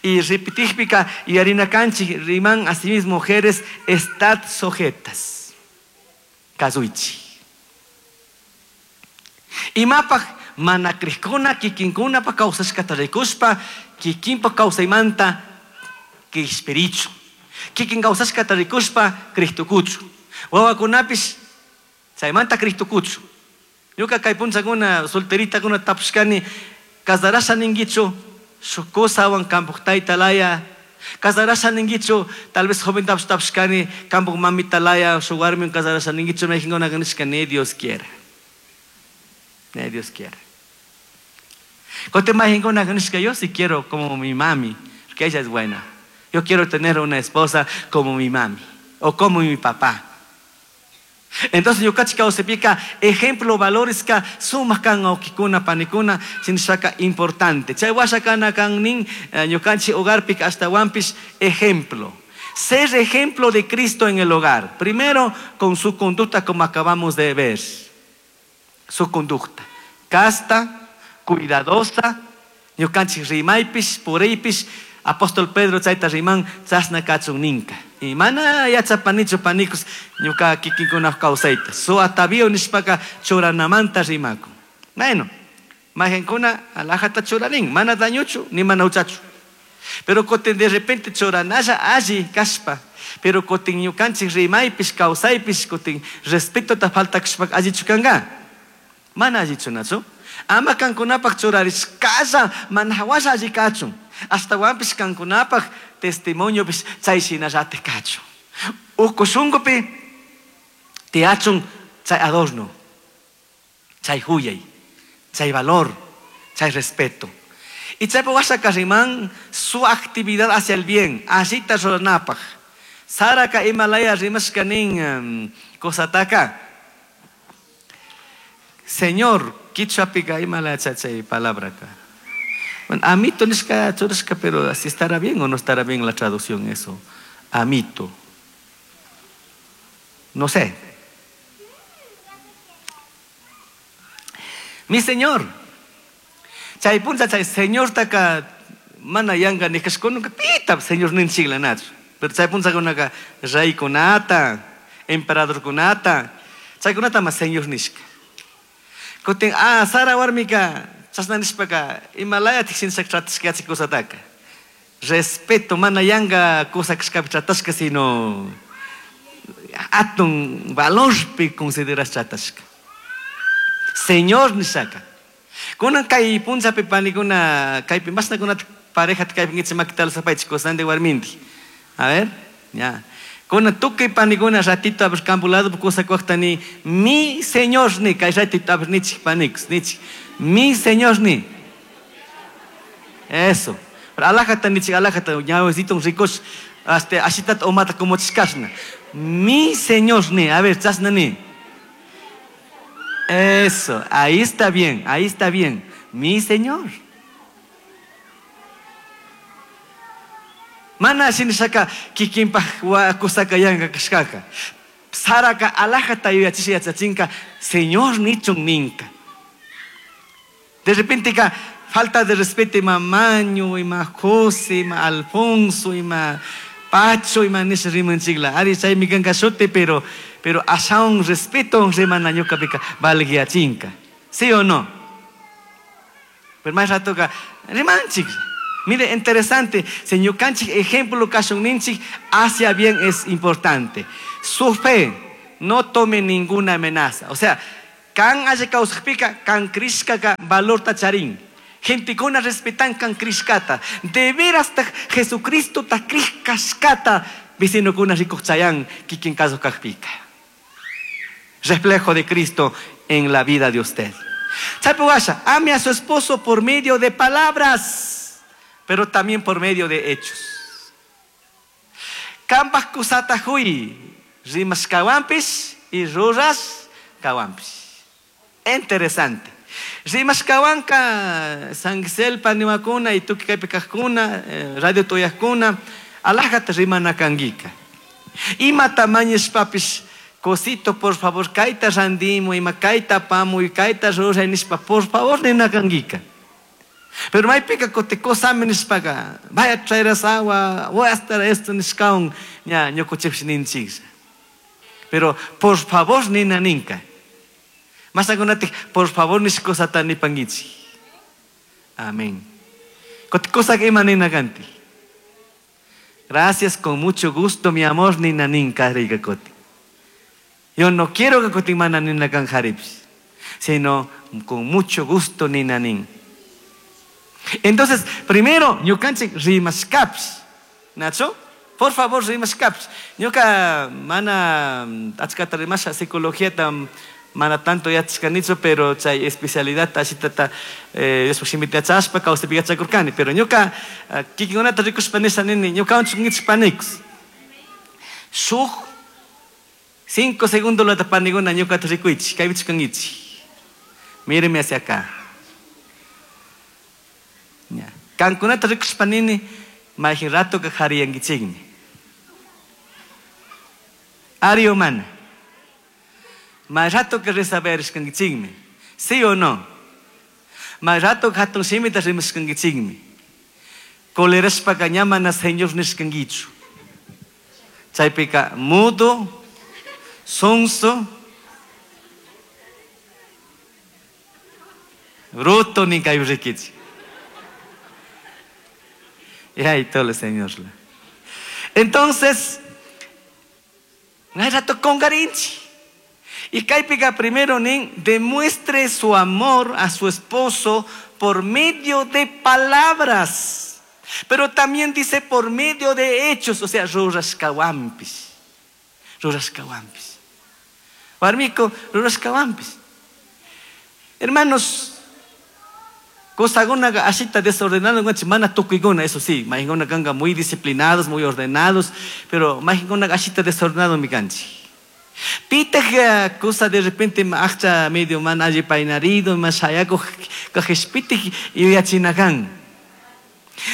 Y repetijpika, y harina kanchik, riman asimismo mujeres, estad sujetas. Kazuichi. Imapaj mana krishkuna kikinkuna pa kawsashkata rikushpa kikinpa kawsaymanta kishpirichu. Kikin kawsashkata rikushpa Cristokuchu. Wawakunapish chaymanta Cristokuchu. Ñuka kay punchakuna solteritakuna tapushkani casarasha ninguichu shuk kusawan kampuj tayta laya. Casarasha ninguichu tal vez joven tapush tapushkani kampuj mamita laya shuk warmiwan casarasha ninguichu mayqinkuna nishka ni Dios quiera. Ni Dios quiera. Kote mayqinkuna nishka yo sí quiero como mi mami, porque ella es buena. Yo quiero tener una esposa como mi mami o como mi papá. Entonces yo cachi kawsapika ejemplo valores ka sumaq kan awkikuna panikuna sinishaka importante. Chay washa kana kan nin, eh, ñukanchik hogarpika ashtawanpish ejemplo. Ser ejemplo de Cristo en el hogar. Primero con su conducta como acabamos de ver. Su conducta. Casta, cuidadosa, ñukanchik rimaypish, puriypish, apóstol Pedro chayta riman chasna kachun ninka. Y mana yachapanichu panikus ñuka kikinkuna kawsayta. Su atavío nishpaka churanamanta rimaku. Bueno, majenkuna alajata churanin, mana dañuchu ni mana uchachu. Pero kotin de repente churanalla alli kashpa. Pero kotin ñukanchik rimaypish kawsaypish kotin respeto ta falta kashpa allichu kanga. Mana allichu nachu. Ama kankunapaq churarishkalla mana hawalla alli kachun. Ashtawanpish kankunapaq testimoniopish chay shinallatik kachun. Uku shunkupi tiyachun chay adorno, chay huyay, chay valor, chay respeto. Y chay washa riman su actividad hacia el bien, allita ruranapaq. Saraka imalaya rimashka nin, um, kosataka. Señor, quichuapica imalaya chay palabra acá. Bueno, amito nishka churashka, pero así estará bien o no estará bien la traducción eso. Amito. No sé. Mi señor. Chay puncha chay señor taka mana yanga nishkashkununka pita señor ninchigla nachu. Pero chay puncha kunaka rey kunata, emperador kunata, chay kunata ma señor nishka. Kutin, ah, Sara warmika chasna nishpaka imalaya tiksinchak tratashka yachik kusataka. Respeto mana yanga kusa kashkapi tratashka sino atun valorpi consideras tratashka. Señor nishaka. Kunan kay punchapi panikuna kaypi masna kunata pareja kaypi ngichi makital sapaychik kusante warminti. A ver, ya. Kunan tukuy panikuna ratito a ver campo lado kusa kuaqtani mi señor ni kay ratito a ver nichik panikus nichik. Mi señor ni. Eso. Pero alajata nichik alajata ñawesito ricos hasta ashitat omata como chikasna. Mi señor ni, a ver, chasna ni. Eso, ahí está bien, ahí está bien. Mi señor. Mana shinishaka kikinpaj kusaka yanka kashkaka. Saraka alajata yuyachisha yachachinka señor nichun ninka. De repente ka falta de respeto ima Maño, ima José, ima Alfonso, ima Pacho, ima nisha rimanchikla. Ari chaymi kanka shuti, pero pero ashaun respeto rimana ñuqapika valguiachinka. ¿Sí o no? Pero más rato ka rimanchik. Mire, interesante, señor Canchik, ejemplo kashun ninchik, hacia bien es importante. Su fe no tome ninguna amenaza. O sea, kan haya causajpika, kan krishkaka valor tacharín. Gente con respetan kan krishkata. De veras ta Jesucristo ta krishkashkata, vecino con rikuchayán, kikin caso kajpika. Reflejo de Cristo en la vida de usted. Chapugasha, ame a su esposo por medio de palabras, pero también por medio de hechos. Kambaj kusata hui, rimas kawampis y ruras kawampis. Interesante. Rimas kawanka, Sangiselpa niwakuna y tuki kajkuna, radio toyajkuna, alajata rimana kangika. Ima tamañes papis, cosito, por favor, kaita randimo, ima kaita pamu, y kaita rura nispa, por favor, nina kangika. Pero maypika kote kosami nishpaka, vaya a traer agua, voy a estar esto nishkaun, ña ñukuchipsh ninchiksa. Pero por favor nina ninka. Más agunatik, por favor nishkosata nipangichi. Amén. Kote kosak ima nina kanti. Gracias, con mucho gusto, mi amor, nina ninka riga kote. Yo no quiero que kote mana nina kan haripsh, sino con mucho gusto nina nin. Entonces, primero, ñukanchik rimashkapish. Nacho, por favor, rimashkapish. Ñuka mana achkata rimasha psicología tam mana tanto yachashkanichu, pero chay especialidad ashitata Diospak shimita yachashpa kawsaypi yachakurkani. Pero ñuka kikinkunata rikushpa nisha nini, ñukawan chunkichik. Shuk cinco segundos lata paniguna ñukata rikuychik, kaypichik kankichik. Míreme hacia acá. Kankunata rikushpa nini, mayqin rato ka qhariyankichikmi. Ari o mana. May rato ka resaberishkankichikmi. ¿Sí o no? May rato ka hatun shimita rimashkankichikmi. Colerashpaka ña mana señor nishkankichu. Chaypika mudo, sonso, bruto ninkayurikichik. Y ahí todo el Señor. Entonces, rato con garinchi. Y kaypika primero nin demuestre su amor a su esposo por medio de palabras. Pero también dice por medio de hechos, o sea, rurashkawampis. Rurashkawampis. Warmiko, rurashkawampis. Hermanos, Cosagona ashita desordenado, mana tukuigona, eso sí, mahingona ganga muy disciplinados, muy ordenados, pero mahingona ashita desordenado mi ganchi. Pita cosa de repente acha medio man allí painarido, más hayaco kajespiti y yachinagan.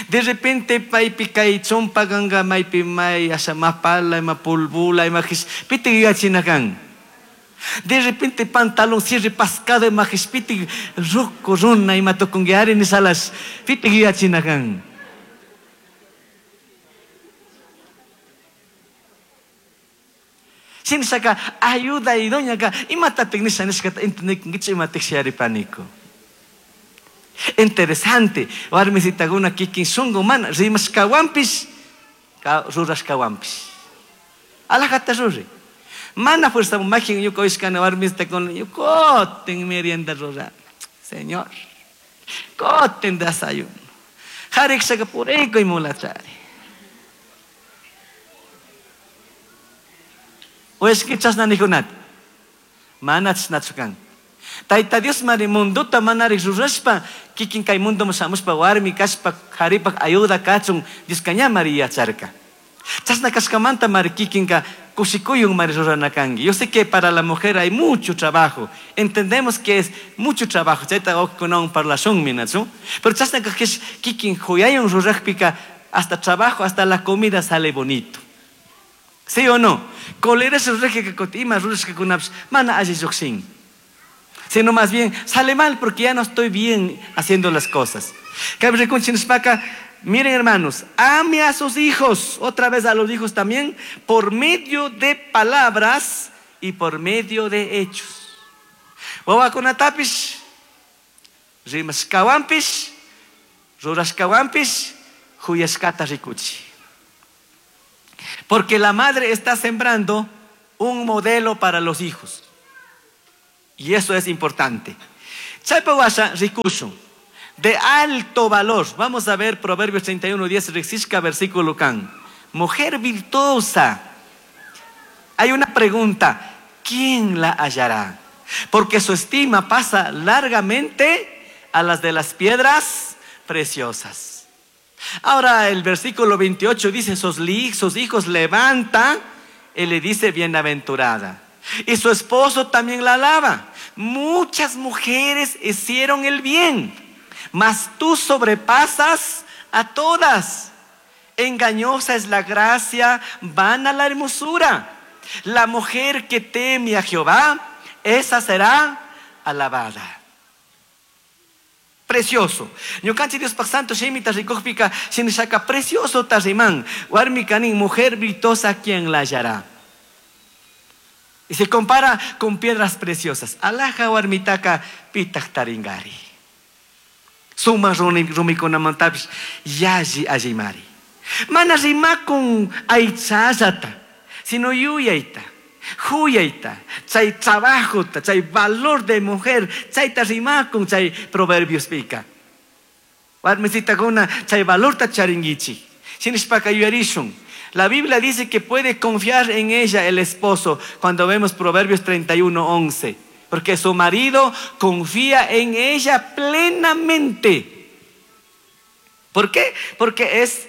De repente paipi kai chompa ganga maipi mai asha mapala ma pulbula ma piti yachinagan. De repente pantalón cierre pascado y majespiti roco runa y matoconguear en salas piti yachinagan. Sinshaka ayuda y doña ka imata tecnisha nishkata entendek ima texiari pánico. Interesante, warmisitaguna kikin shungu mana rimashkawampis rurashkawampis. Alajata ruri. Mana fuerza magia yuko ishkana warmista con yukoten merienda rura. Señor. Koten desayuno. Harik shaka pureko y mulachari. O es que chasna nijunat. Mana chasnachukan. Taita Dios mari munduta manari rurashpa kikin kay mundo mushamushpa warmi kashpa haripak ayuda kachun Dios kaña mari yacharka. Chasna kashkamanta mari kikinka kushikuyun mari rurana kanki. Yo sé que para la mujer hay mucho trabajo. Entendemos que es mucho trabajo. Chayta wawqikunawan parlashunmi, nachu? Pero chasna kajkish kikin huyayun rurajpika hasta trabajo, hasta la comida sale bonito. ¿Sí o no? Coleras rurajka ima rurashkakunapish mana alli lluqshin. Sino más bien sale mal porque ya no estoy bien haciendo las cosas. Miren hermanos, ame a sus hijos, otra vez a los hijos también, por medio de palabras y por medio de hechos. Wawakunatapish, rimashkawanpish, rurashkawanpish, huyashkata rikuchi. Porque la madre está sembrando un modelo para los hijos. Y eso es importante. Chaypa washa rikushun. De alto valor. Vamos a ver Proverbios treinta y uno, diez, riksishka versículo kan. Mujer virtuosa. Hay una pregunta. ¿Quién la hallará? Porque su estima pasa largamente a las de las piedras preciosas. Ahora el versículo veintiocho dice, sus, sus hijos levanta y le dice bienaventurada. Y su esposo también la alaba. Muchas mujeres hicieron el bien, mas tú sobrepasas a todas. Engañosa es la gracia, vana la hermosura. La mujer que teme a Jehová, esa será alabada. Precioso. Ñukanchik Diospaj santo shimita rikujpika shinishaka precioso tarriman. Warmi kanin, mujer virtuosa, quien la hallará. Y se compara con piedras preciosas. Alaja warmitaka pitaj taringari. Suma rumikunamantapish yalli allimari. Mana rimakun aychallata, sino yuyayta, huyayta, chay trabajota, chay valor de mujer, chayta rimakun chay proverbios pika. Warmisitakuna chay valorta charingichi. Shinishpaka yuyarishun. La Biblia dice que puede confiar en ella el esposo cuando vemos Proverbios treinta y uno, once. Porque su marido confía en ella plenamente. ¿Por qué? Porque es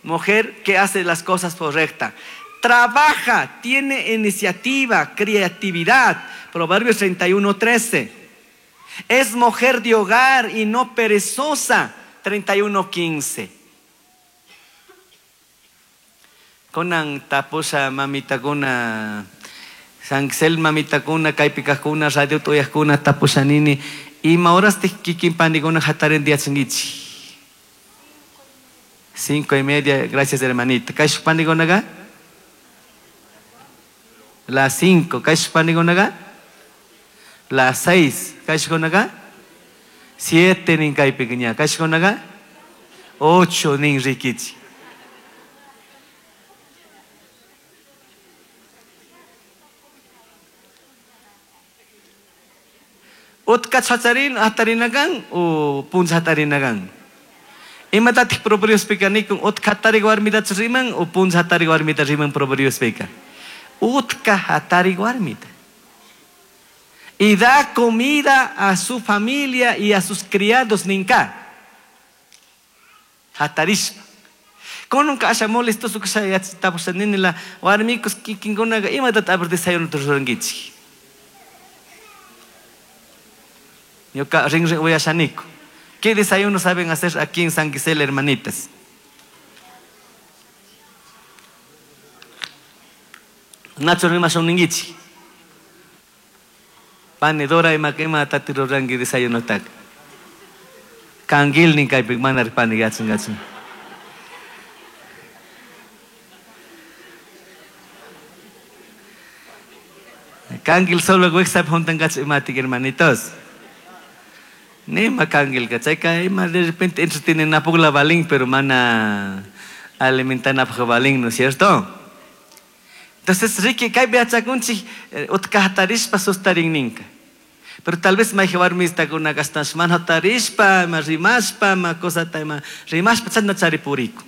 mujer que hace las cosas correctas. Trabaja, tiene iniciativa, creatividad. Proverbios treinta y uno, trece. Es mujer de hogar y no perezosa. treinta y uno, quince. Conan tapusha mamitakuna, Sanxel mamitakuna, kaypikakuna, radio tuyakuna, tapusha nini. Ima horas te kikin panikuna hataren diachingichi. Cinco y media, gracias hermanita. Kaysh panikunaga? Las cinco. Kaysh panikunaga? Las seis. Kaysh kunaga? Siete nin kaypikiña. Kaysh kunaga? Ocho nin rikichi. Utka chatarin hatarinagan o punza hatarinagan. Imatatik proverbios pika nikun utka hatari warmita riman o punza hatari warmita riman proverbios pika. Utka hatari warmita. Y da comida a su familia y a sus criados ninka. Hatarishpa. Konunka asha molesto su kusha yachitapusanini la warmikus kikinkunaga imatat abr desayuno rurankichik. Ñuka rin rin uyashaniko. ¿Qué desayuno saben hacer aquí en San Gisela, hermanitas? Nacho rimashun ningichi. Panedora ima ima tatirurangi desayuno tak. Kangil nin kaypi mana pani gachun gachun. Kangil solo wixap juntan gach imatik hermanitos. Nima kangil kachayka ima de repente entretienen a la balín, pero mana alimentan a balín, ¿no es cierto? Entonces, Ricky, kaypi yachakunchik utka hatarishpa sustarin ninka. Pero tal vez may warmistakuna kastash mana hatarishpa, ma rimashpa, ma cosata, ma rimashpa, chasna charipuriku.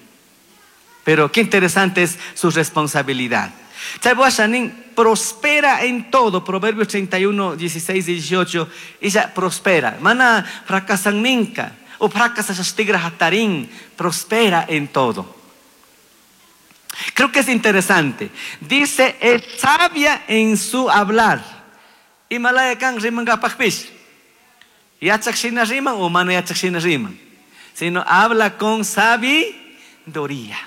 Pero qué interesante es su responsabilidad. Chaybuashanin prospera en todo. Proverbios treinta y uno, dieciséis y dieciocho. Ella prospera. Mana fracasan ninka. O fracasa shastigra hatarin. Prospera en todo. Creo que es interesante. Dice, es sabia en su hablar. Imalaya kan rimankapaqpish. Yachaq shina riman o mana yachaq shina riman. Sino habla con sabiduría.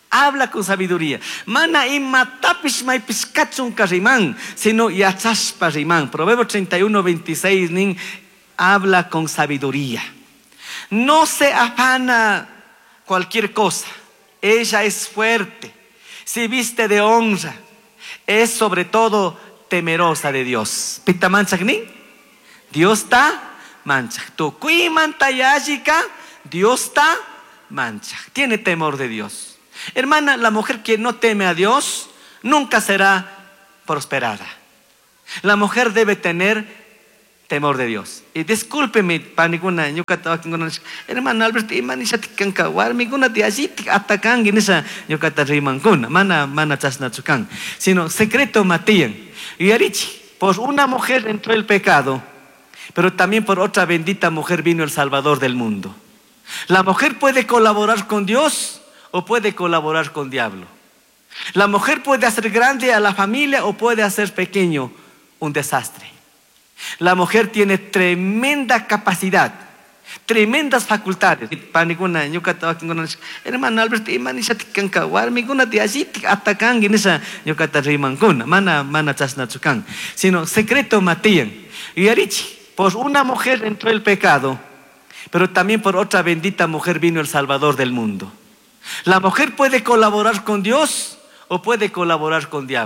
Habla con sabiduría. Mana imatapish maypish kachunka riman, sino yachashpa riman. Proverbio treinta y uno, veintiséis, nin, habla con sabiduría. No se afana cualquier cosa. Ella es fuerte, se viste de honra, es sobre todo temerosa de Dios. Pita manchak nin? Dios está manchak. Tukuymanta yallika, Dios está manchak. Tiene temor de Dios. Hermana, la mujer que no teme a Dios nunca será prosperada. La mujer debe tener temor de Dios. Y discúlpeme, panikuna, ñuqata wakinkuna nishka, hermano Alberto, ima nishatik kanka, warmikuna ti allitik atakanki nisha ñuqata rimankuna, mana, mana chashnachu kan, sino secreto matiyan. Yuyarichi, por una mujer entró el pecado, pero también por otra bendita mujer vino el Salvador del mundo. La mujer puede colaborar con Dios o puede colaborar con diablo. La mujer puede hacer grande a la familia o puede hacer pequeño un desastre. La mujer tiene tremenda capacidad, tremendas facultades. Panikuna, ñuqata wakinkuna nishka, hermano Alberto, ima nishatik kanka, warmikuna ti allitik atakanki nisha ñuqata rimankuna, mana, mana chashnachu kan, sino secreto matiyan. Yuyarichi, por una mujer entró el pecado, pero también por otra bendita mujer vino el Salvador del mundo. La mujer puede colaborar con Dios o puede colaborar con diablo.